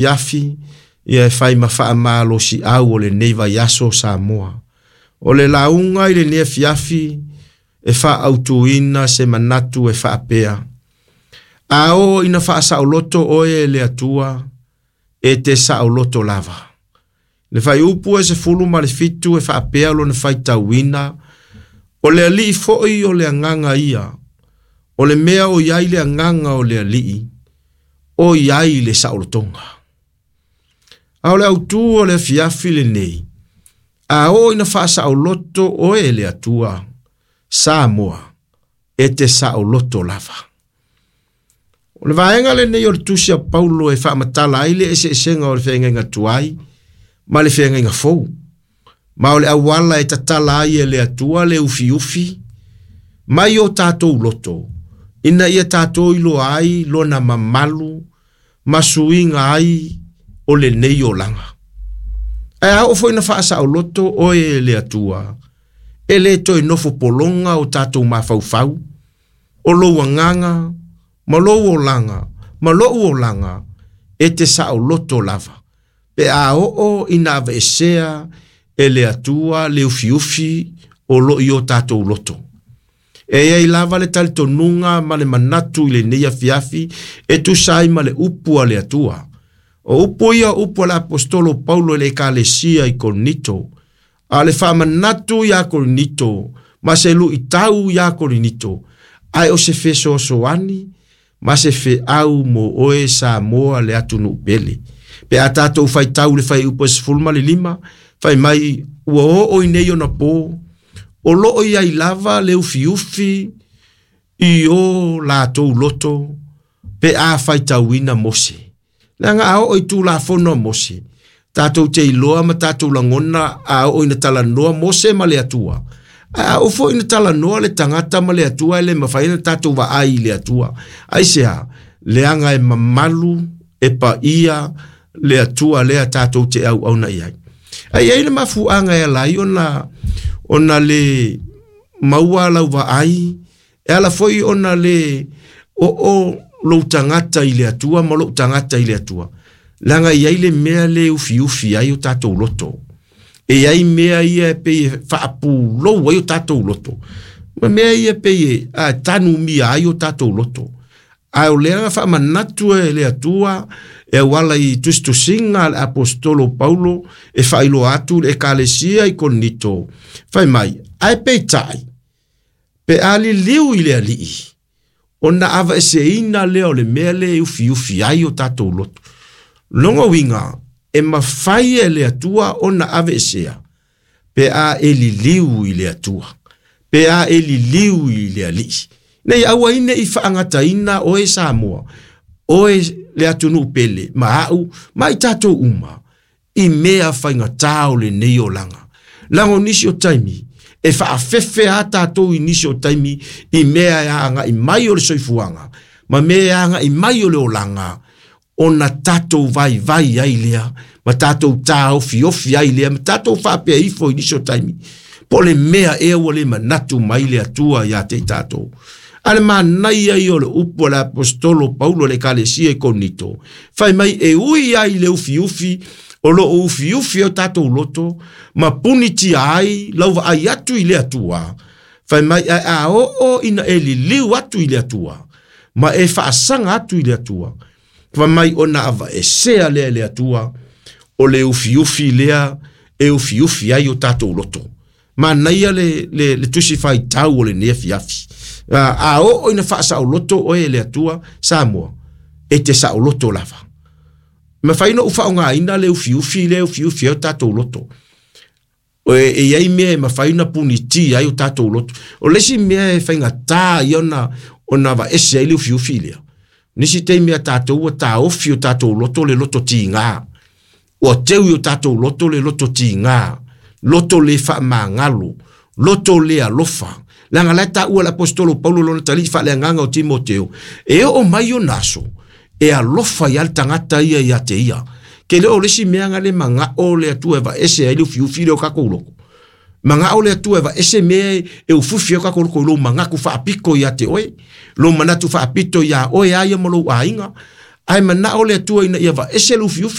afiafi ia e fai ma faamalosiau o lenei vaiaso Samoa. O le lauga i lenei afiafi e faaautuina se manatu e faapea, A oo ina faasaoloto oe e le Atua, e te saoloto lava. Le fuaiupu e 17 e faapea lona faitauina, O le Alii foi o le Agaga ia, o le mea o i ai le Agaga o le Alii, o i ai le saolotoga. A o le autū o le afiafi lenei, a oo ina faasaoloto oe e le Atua, Samoa, e te saoloto lava. O le vaega lenei o le tusi a Paulo e faamatala ai le eseesega o le feagaiga tuai ma le feagaiga fou. Ma o le auala e tatala ai e le Atua le ufiufi mai o tatou loto, ina ia tatou iloa ai lona mamalu ma suiga ai o lenei olaga. Ae a oo foi ina faasaoloto oe e le Atua, e le toe nofo pologa o tatou mafaufau, o lou agaga, ma lou olaga, ma lo'u olaga, e te saoloto lava, pe a oo ina aveesea e le Atua le ufiufi o lo o i o tatou loto. E i ai lava le talitonuga ma le manatu i lenei afiafi e tusa ai ma le upu a le Atua. O upu ia o upu a le Aposetolo Paulo i le Ekalesia i Korinito, a o le faamanatu iā Korinito ma se luitau iā Korinito, ae o se fesoasoani ma se feau mo oe Samoa le atunuu pele. Pe a tatou faitau i le fuaiupu e 15, fai mai ua oo i nei ona pō, o lo o i ai lava le ufiufi i o latou loto pe a faitauina Mose. Leaga a oo i Tulafono a Mose, tatou te iloa ma tatou lagona a oo ina talanoa Mose ma le Atua. Ae a oo foi ina talanoa le tagata ma le Atua e le mafai ona tatou vaai i le Atua. Aisea? Leaga e mamalu, e paia le Atua lea tatou te auauna i ai. Ae i ai le mafuaaga e ala ai ona ona le maua lau vaai E ala foi ona le oo lou tagata i le Atua ma lou tagata i le Atua, leaga e i ai le mea le ufiufi ai o tatou loto. E i ai mea ia e pei e faapulou ai o tatou loto, ma mea ia e pei e a, tanumia ai o tatou loto. Ae o lea na faamanatu e le Atua e auala i tusitusiga a le Aposetolo Paulo e faailoa atu i le Ekalesia i Korinito, fai mai, ae peitai, Pe a liliu i le Alii, ona aveeseina lea o le mea lea e ufiufi ai o tatou loto. Lona uiga, e mafai e le Atua ona aveesea pe a e liliu i le Atua, pe a e liliu i le Alii. Ina ia aua ai ne i faagataina oe Samoa, oe le atunuu pele, ma au, ma i tatou uma, i mea faigata o lenei olaga. Leaga o nisi o taimi, e faafefe a tatou i nisi o taimi i mea e agai mai o le soifuaga, ma mea e agai mai o le olaga, ona tatou vaivai ai lea, ma tatou taofiofi ai lea, ma tatou faapea ifo i nisi o taimi, po o le mea ea ua le manatu mai le Atua ia te i tatou. A le manaia ia o le upu a le Aposetolo Paulo i le Ekalesia i Korinito, fai mai e ui ai i le ufiufi o lo o ufiufi ai o tatou loto ma punitia ai lau vaai atu i le Atua, fai mai ae a oo ina e liliu atu i le Atua ma e faasaga atu i le Atua, fai mai ona aveesea lea e le Atua o le ufiufi lea e ufiufi ai o tatou loto. Manaia le, le, le tusi faitau o lenei afiafi. A, a oo ina faasaoloto oe e le Atua, Samoa, e te saoloto lava. Mafai ona ou faaaogaina le ufiufi lea e ufiufi ai o tatou loto. E, e i ai mea e mafai ona punitia ai o tatou loto. O le isi mea e faigata ia ona, ona aveese ai le ufiufi lea, nisi taimi a tatou ua taofi o tatou loto le loto tiga. Ua teu i o tatou loto le loto tiga, loto le faamagalo, loto le alofa. Leaga la e taua e le Aposetolo Paulo lona talii faaleagaga o Timoteo, e oo mai ona aso, e alofa ai lava le tagata ia ia te ia. Ke le o le isi mea na le manao le Atua e aveese ai le ufiufi lea o tatou loto. Manao le Atua e aveese mea e ufiufi ai o tatou loto i lou manatu faapito ia te oe, lou manatu faapito ia oe a ia ma lou aiga. Ae manao le Atua ina ia vaese le ufiufi.